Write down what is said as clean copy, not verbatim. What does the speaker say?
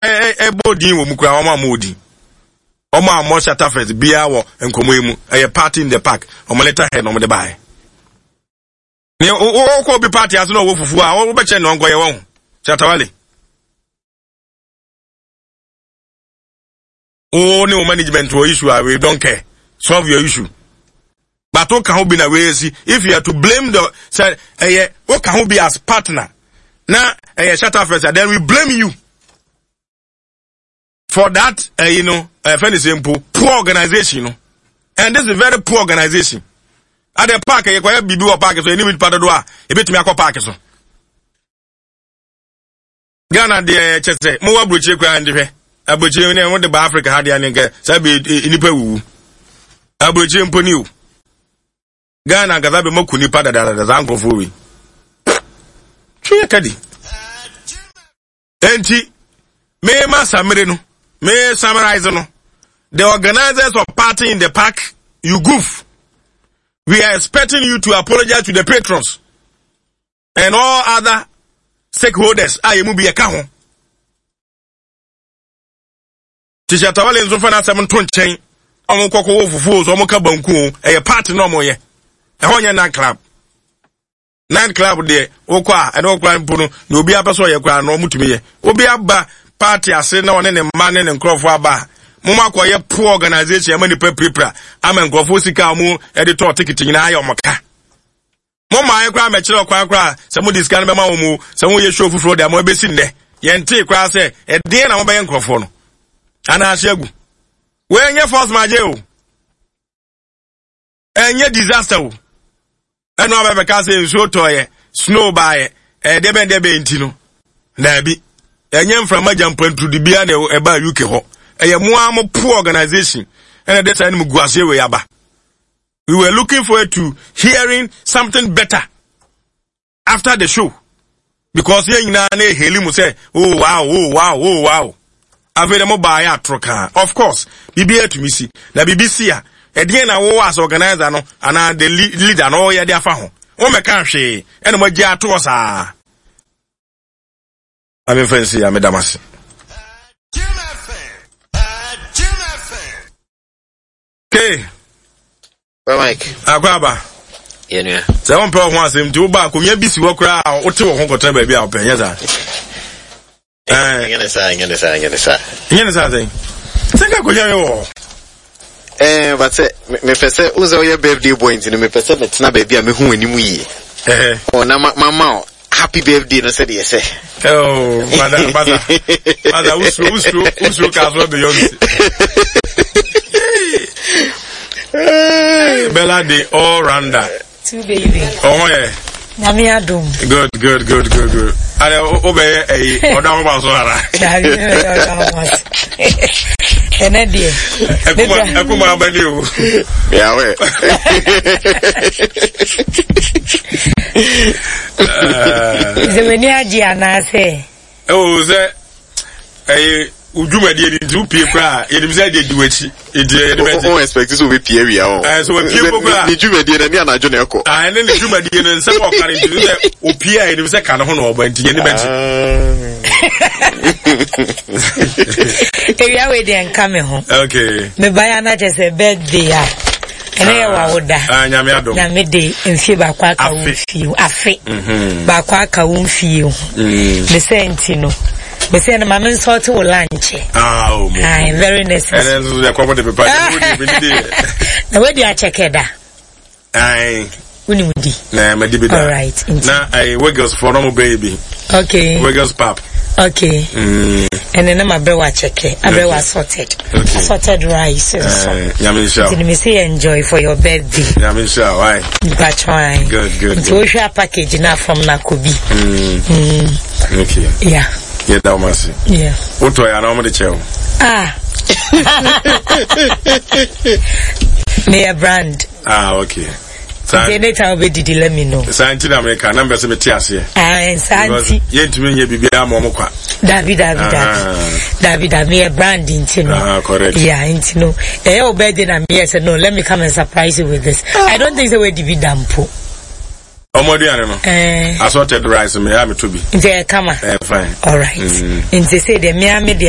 Ɛbɔ din wɔ mu koraa, wɔn ammɔ din. Wɔn ammɔ Shatterfest biara wɔ nkɔmmɔ yi mu. Ɛyɛ party in the park. Wɔn letter head na wɔn de baeɛ. Ne wokɔ obi party ase na ɔwɔ fufuo a, wobɛkyɛ na ɔnkɔyɛ wɔn. Shatawale. Wo ne wo management wɔ issue a, we don't care. Solve your issue. But woka ho bi na wei si. If you are to blame the sɛ ɛyɛ woka ho bi as partner na ɛyɛ Shatterfest, then we blame you for that fɛn sɛ mpo poor organization no. And this is very poor organization. At the park yɛ kɔyɛ biribi wɔ park so, ɛni nipa dodo a ebetumi akɔ park so. Ghana deɛ, kyɛ sɛ mowɔ aburokyire koraa nde, hwɛ aburokyire ne wode ba Africa ha deɛ ne nkɛ saa bɛ nipa wuwu aburokyire mpo ni o. Ghana ankasa bɛ mɔku nipa dadadada. Saa nkurɔfoɔ wei twe yɛ kadi. Enti mema samere no, me summarize no: the organizers of Party in the Park, you goof. We are expecting you to apologize to the patrons and all other stakeholders a yɛmu bi yɛka ho. Ti Shatawale nso fa n'asɛm nto nkyɛn. Ɔmo kɔkɔ wɔ fufuo so, ɔmo ka banku o, ɛyɛ party na ɔmo yɛ. Ɛhɔ nyɛ night club. Night club deɛ, wokɔ a, ɛne ɔkora mpo no na obi apɛ sɛ ɔyɛ koraa no, ɔmo tumi yɛ. Obi aba party ase na ɔne ne mma ne ne nkurɔfoɔ aba a, mo ma akɔyɛ poor organization ama nipa pirapira, ama nkurɔfoɔ sika a ɔmo de tɔɔ tikiti nyinaa ayɛ ɔmo ka. Mo mmaa koraa mɛkyerɛ ɔkwan koraa sɛ mode sika no bɛma wɔn mu sɛ moyɛ show foforɔ de ama ɛbɛsi nnɛ. Yɛntee koraa sɛ ɛdeɛn na mobɛyɛ nkurɔfoɔ no anaa ahye agu. Wɔnyɛ force majeure o, ɛnyɛ disaster o. Ɛno abɛbɛka sɛ nsuo tɔɔyɛ, snow baayɛ, ɛdeɛ bɛn deɛ bɛn nti no, daabi, ɛnyɛ mframa gyampanturudu biara na ɛbaa UK hɔ. Ɛyɛ mo ara mo poor organization ɛna ɛde saa anim gu aseɛ wei aba. We were looking forward to hearing something better after the show because yɛn nyinaa na eheli mu sɛ, "Oh wow, oh wow, oh wow." Afei de mo baa yɛ atoro kaa. Of course, biribi atumi si na biribi si a, ɛdeɛn na wɔwɔ as organizer no anaa the leader no ɔyɛ de afa ho? Wɔn mɛka hwee ɛna mo agye atoɔ saa. Ame nfa nsi ya, meda mo ase. Ke. Mike. Akɔ aba. Yɛ nua. Sɛ wɔn pɛ wɔn ho asɛm nti woba akonnwa bi si hɔ koraa a, wote wɔn ho kɔtena baabi a wɔpɛ, nyɛ saa? Nyɛ ne saa, nyɛ ne saa, nyɛ ne saa. Nyɛ ne saa sɛn? Sɛ nka akonnwa bi wɔ hɔ. Ɛɛ, but sɛ mepɛ sɛ wo sɛ woyɛ birthday boy nti no, mepɛ sɛ metena baabi a mehu w'anim yie. Ɔ na mama wo happy birthday no sɛdeɛ sɛ. Oh, mada, mada, mada, usuro, usuro, usuro ka so Beyonce. Bella the all rounder. Two baby. Oh yeah. Nyame adom. Good, good, good, good, good. Ade o bɛ yɛ ɛyi ɔda ho ma so ara. Dabi, ɔda ho ma so. Ɛnɛ deɛ. Ɛkuma ɛkuma abɛni o. Yàwɛ. Sɛ w'ani agye anaasɛ? Ɛwɔ sɛ ɛyɛ dwumadie ni nti wopie koraa, yɛnim sɛ ɛde di w'akyi nti yɛde bɛgye. O expect sɛ wobɛpie awia o. Ɛɛ, sɛ wapie mpo koraa. Ne dwumadie no ne anadwo na ɛkɔ. Ɛne ne dwumadie no nsɛm a ɔka no nti sɛ opie a, yɛnim sɛ ka ne ho na ɔba nti yɛne bɛgye. Ewia wei deɛ nka me ho. Okay. Mebaeɛ ana kyɛ sɛ birthday a ɛnɛ yɛ wawoda. Ah, Nyame adom. Nyame de mfie baako aka wo mfie ho. Afe baako aka wo mfie ho. Ne sɛ nti no, mesɛ no ma me nsɔɔte wo lunch. Ah, oh, mo. Ah, very necessary. Ɛnɛ nso yɛ kɔbɔ de pepa. Na wadi akyɛkɛ da? Ayi. Wonim di? Na madi bi da. Alright. Nti. Na ayi Wiggles fɔ na mo bɛyɛ bi. Okay. Wiggles pap. Okay. Ɛnɛ na ma brɛ wa akyɛkɛ, abrɛ wa assorted. Okay. Assorted rice nso. Nyame nhyira. Nti me say enjoy for your birthday. Nyame nhyira, why? Mpatwa. Good, good. Nti wohwɛ a package na from na kobi. Okay. Yeah. Yɛ da wɔn ase. Yeah. Wotɔ yɛ anaa wɔn de kyɛ wo? Ah. Meyɛ brand. Ah, okay. Nti anytime wobɛdidi, let me know. Saa nti na meka na mbɛ sɛ mete aseɛ. Ah, saa nti. Yɛntumi nyɛ biribiara ma ɔmo kwa. Dabi, dabi, dabi. Dabi, dabi, meyɛ brand nti no. Ah, correct. Yeah, nti no. Ɛyɛ wo birthday na meyɛ sɛ no, let me come and surprise you with this. I don't think sɛ woadi bi da mpo. Ɔmo aduane no. Ɛɛ. Assorted rice me a meto bi. Nti ɛyɛ kama. Ɛyɛ fine. Alright. Nti sɛ deɛ mea me de